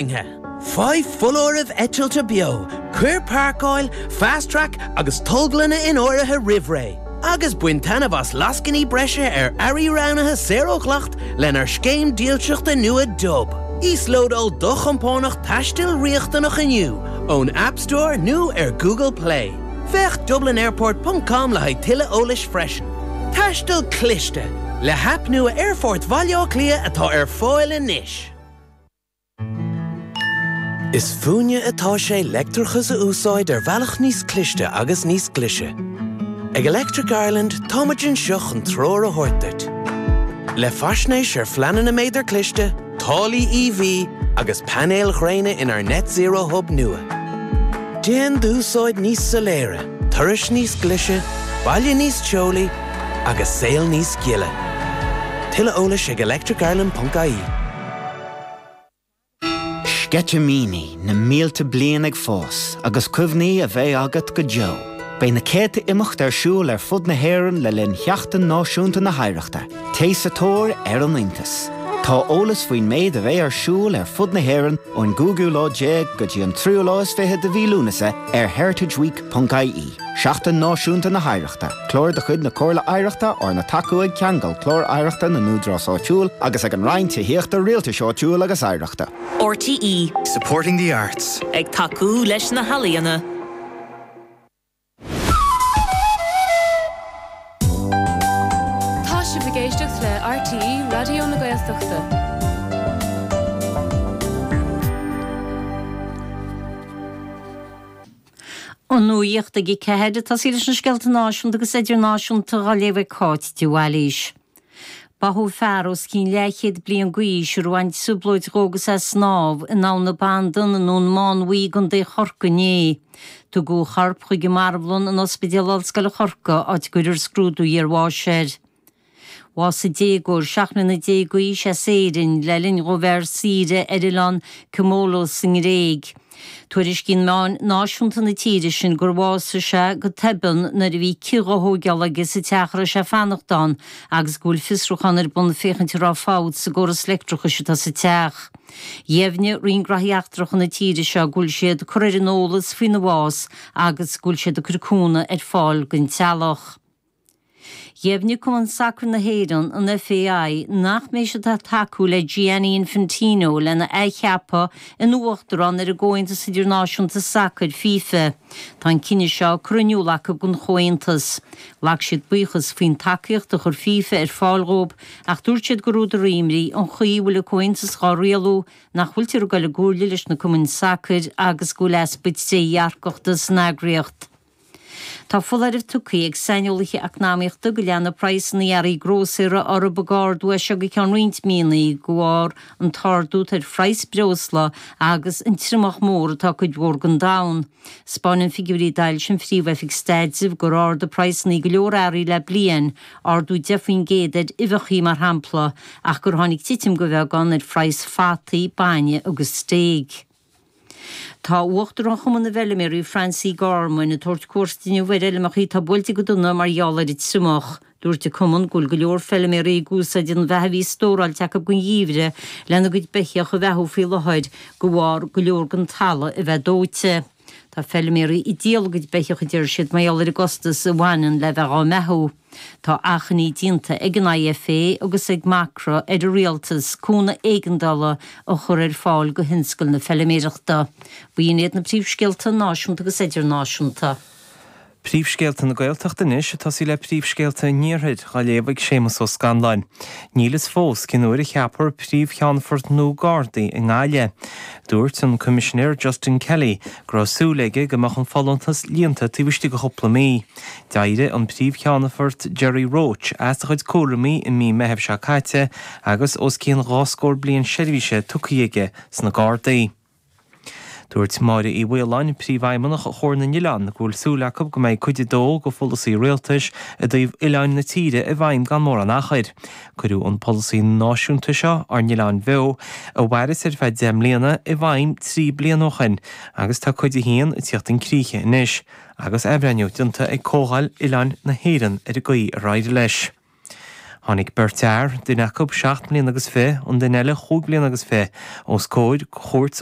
Faigh foláirimh eitilte beo, cuir páirceáil, Fast Track agus tolglanna in áirithe roimh ré, agus bain taitneamh as lascainí breise ar earraí roghnaithe saor ó dhleacht lenár scéim dílseachta nua Dub. Íoslódáil do chompánach taistil riachtanach inniu ón App Store nó ar Google Play. Féach dublinairport ponc com le haghaidh tuilleadh eolais freisin. Taisteal cliste le haip nua Aerfort Bhaile Átha Cliath atá ar fáil anois. Is fúinne atá sé leictreachas a úsáid ar bhealach níos cliste agus níos glaise. Ag Electric Ireland táimid anseo chun treoir a thabhairt duit. Le faisnéis ar phleananna méadar cliste, táillí EV agus painéil ghréine inár Net Zero Hub nua. Déan d'úsáid níos soiléire, turais níos glaise, baile níos teolaí agus saol níos gile. Tuilleadh eolais ag electricireland.ie. Sceitimíní na mílte bliain ag fás agus cuimhní a bheidh agat go deo. Beidh na céadta imeacht ar siúl ar fud na hÉireann le linn Sheachtain Náisiúnta na hOidhreachta. Téigh sa tóir ar an iontas! Tá eolas faoin méid a bheidh ar siúl ar fud na hÉireann ón gcúigiú lá déag go dtí an tríú lá is fiche de mhí Lúnasa ar heritageweek.ie. Seachtain Náisiúnta na hOidhreachta, clár de chuid na Comhairle Oidhreachta arna tacú ag Ceangal Clár Oidhreachta na nÚdarás Áitiúil agus ag an Roinn Tithíochta, Rialtais Áitiúil agus Oidhreachta. RTÉ. Supporting the arts. Ag tacú leis na healaíona. Tá sibh ag éisteacht le RTÉ Raidió na Gaeltachta. An nuacht ag 4, ag tosaí leis na scéalta náisiúnta agus idirnáisiúnta á léamh ag Cáit de Bhailís. Báthadh fear os cionn leathchéad bliain d'aois a raibh an-trioblóid dhó agus é ag snámh in Abhainn na Bandan i nDún Mánmhaí i gContae Chorcaí inné. Tugadh a chorp chuig an marbhlann in Ospidéal Ollscoile Chorcaí áit a gcuirfear scrúdú iarbháis air. Bhásaigh déagóir 17 mbliana d'aois as Éirinn le linn dhó bheith ar saoire ar oileán Kimolos sa nGréig. Tuairiscíonn meáin náisiúnta na tíre sin gur bhásaigh sé go tobann nuair a bhí cith á thóigeáil aige sa teach a raibh sé ag fanacht ann agus go bhfuil fiosrúchán ar bun féachaint an raibh fabht sa gcóras leictreachais atá sa teach. Dheimhnigh Roinn Graithí Eachtracha na tíre seo go bhfuil siad curtha ar an eolas faoina bhás agus go bhfuil siad ag cur cúnamh ar fáil don teaghlach. Dheimhnigh Cumann Sacair na hÉireann, an FAI, nach mbeidh siad ag tacú le Gianni Infantino lena athcheapadh ina uachtarán ar an gComhaontas Idirnáisiúnta Sacair, FIFA. Tá an cinneadh seo curtha in iúl acu don Chomhaontas. Ghlac siad buíochas faoin tacaíocht a chuir FIFA ar fáil dhóibh ach dúirt siad gur údar imní an chaoi a bhfuil an Comhaontas dhá rialú, nach bhfuiltear ag dul i gcomhairle leis na cumainn sacair agus go bhfuil easpa trédhearcachta san eagraíocht. Tá foláireamh tugtha ag saineolaithe eacnamaíochta go leanfaidh praghsanna earraí grósaera orthu ag ardú as seo go ceann roinnt míonna de bharr an t-ardú atá ar phraghas breosla agus an triomach mór atá i gcuid mhór den domhan. 'Spáineann figiúirí a d'fhoilsigh an Phríomh-Oifig Staidrimh gur ardaigh praghsanna go leor earraí le bliain, ardú 10% ar uibheacha mar shampla, ach gur tháinig titim de bheagán ar phraghas fataí, bainne agus stéig. Tá Uachtarán Chumann na bhFeilméaraí, Francie Gorman, ag tabhairt cuairt inniu ar fheilmeacha atá buailte go dona mar gheall ar an triomach. Dúirt an cumann go bhfuil go leor feilméaraí ag úsáid an bheatha a bhí stóráilte acu don gheimhreadh lena gcuid beithíoch a bheathú faoi láthair de bharr go leor den talamh a bheith dóite. Tá feilméaraí ag díol a gcuid beithíoch a deir siad mar gheall ar an gcostas a bhaineann le bheith dhá mbeathú. Tá achainí déanta ag an IFA agus ag Macra ar an Rialtas cúnamh éigeandála a chur ar fáil do thionscal na feilméarachta. B'in iad na príomhscéalta náisiúnta agus idirnáisiúnta. Príomhscéalta na Gaeltachta anois, ag tosaí le príomhscéalta an Iarthair, á léamh ag Séamus Ó Scanláin. Níl fhios fós cén uair a cheapfar Príomh-Cheannfort nua Gardaí i nGaillimh. Dúirt an Coimisinéir Justin Kelly go raibh súil aige go mbeadh an folúntas líonta taobh istigh de chúpla mí. D'éirigh an Príomh-Cheannfort Gerry Roche as a chuid cúraimí i mí Meithimh seo caite agus os cionn dhá scór bliain seirbhíse tugtha aige sna Gardaí. Dúirt Máire Uí Mhaoláin, Príomhfheidhmeannach Chomhar na nOileán, go bhfuil súil acu go mbeidh Cuid 2 de pholasaí Rialtais i dtaobh oileáin na tíre i bhfeidhm gan mórán achair. Cuireadh an polasaí náisiúnta seo, Ár nOileáin Bheo, a mhaireas ar feadh 10 mbliana, i bhfeidhm 3 bliana ó shin agus tá Cuid 1 ag tíocht chun críche anois. agus athbhreithniú déanta ag Comhdháil Oileáin na hÉireann ar an gcaoi ar éirigh leis. Tháinig beirt fhear, duine acu seacht mbliana agus fi, an duine eile chúig bliana agus fi, os comhair Chúirt.